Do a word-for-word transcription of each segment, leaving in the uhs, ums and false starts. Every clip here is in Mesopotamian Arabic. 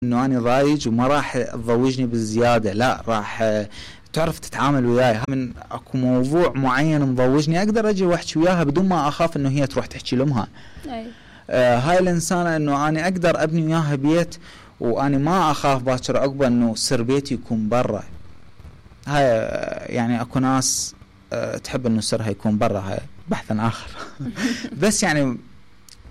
انه انا ضايج وما راح تضوجني بالزياده، لا راح تعرف تتعامل وياي. من اكو موضوع معين مضوجني اقدر اجي واحكي وياها بدون ما اخاف انه هي تروح تحكي لامها. أي. آه هاي الانسانه انه انا اقدر ابني وياها بيت وانا ما اخاف باكر عقبه انه سر بيتي يكون برا. هاي يعني اكو ناس آه تحب انه سرها يكون برا، هاي بحث اخر. بس يعني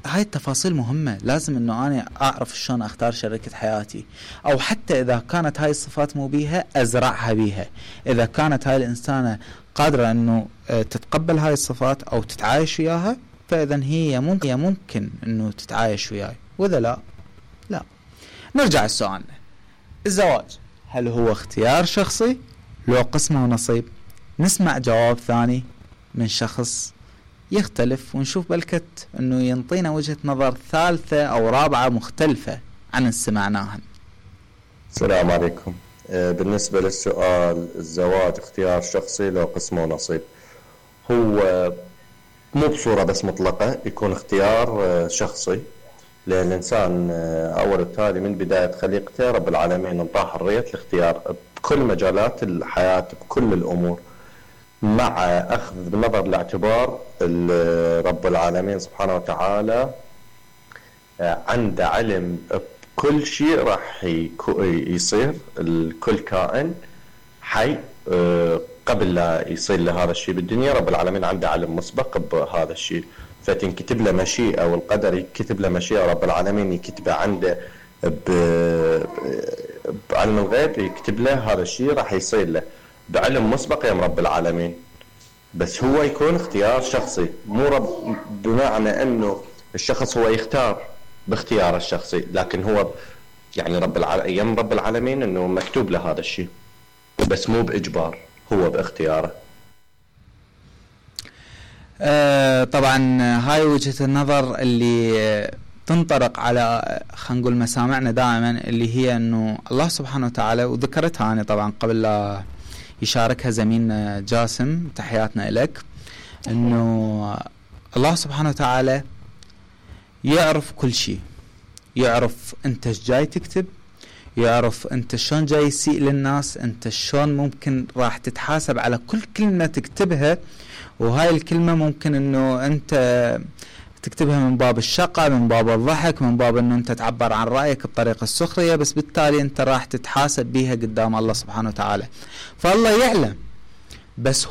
هاي التفاصيل مهمة، لازم انه انا اعرف شلون اختار شريكة حياتي، او حتى اذا كانت هاي الصفات مو بيها ازرعها بيها. اذا كانت هاي الانسانة قادرة انه تتقبل هاي الصفات او تتعايش وياها، فاذا هي ممكن ممكن انه تتعايش وياي، واذا لا لا. نرجع لسؤالنا، الزواج هل هو اختيار شخصي لو قسمه ونصيب؟ نسمع جواب ثاني من شخص يختلف ونشوف بلكت انه ينطينا وجهة نظر ثالثة او رابعة مختلفة عن اللي سمعناها. السلام عليكم. بالنسبة للسؤال الزواج اختيار شخصي لو قسمه نصيب، هو مو بصورة بس مطلقة، يكون اختيار شخصي، لأن الإنسان أول وتالي من بداية خليقته رب العالمين انطاه حرية الاختيار بكل مجالات الحياة بكل الأمور، مع أخذ بنظر الاعتبار رب العالمين سبحانه وتعالى عنده علم بكل شيء راح يصير، الكل كائن حي قبل لا يصير له هذا الشيء بالدنيا رب العالمين عنده علم مسبق بهذا الشيء، فتنكتب له مشيئة والقدر يكتب له مشيئة رب العالمين يكتبه عنده بعلم الغيب، يكتب له هذا الشيء راح يصير له بعلم مسبق يا رب العالمين. بس هو يكون اختيار شخصي، مو رب بمعنى انه الشخص هو يختار باختياره الشخصي، لكن هو يعني رب العالمين يم رب العالمين انه مكتوب له هذا الشيء، بس مو باجبار، هو باختياره. آه طبعا هاي وجهة النظر اللي تنطرق على خلينا نقول مسامعنا دائما، اللي هي انه الله سبحانه وتعالى، وذكرتها انا طبعا قبل لا يشاركها زميلنا جاسم، تحياتنا لك، انه الله سبحانه وتعالى يعرف كل شيء، يعرف انت ايش جاي تكتب، يعرف انت شلون جاي يسيء للناس، انت شلون ممكن راح تتحاسب على كل كلمة تكتبها، وهاي الكلمة ممكن انه انت تكتبها من باب الشقة، من باب الضحك، من باب انه انت تعبر عن رأيك بطريقة السخرية، بس بالتالي انت راح تتحاسب بيها قدام الله سبحانه وتعالى. فالله يعلم، بس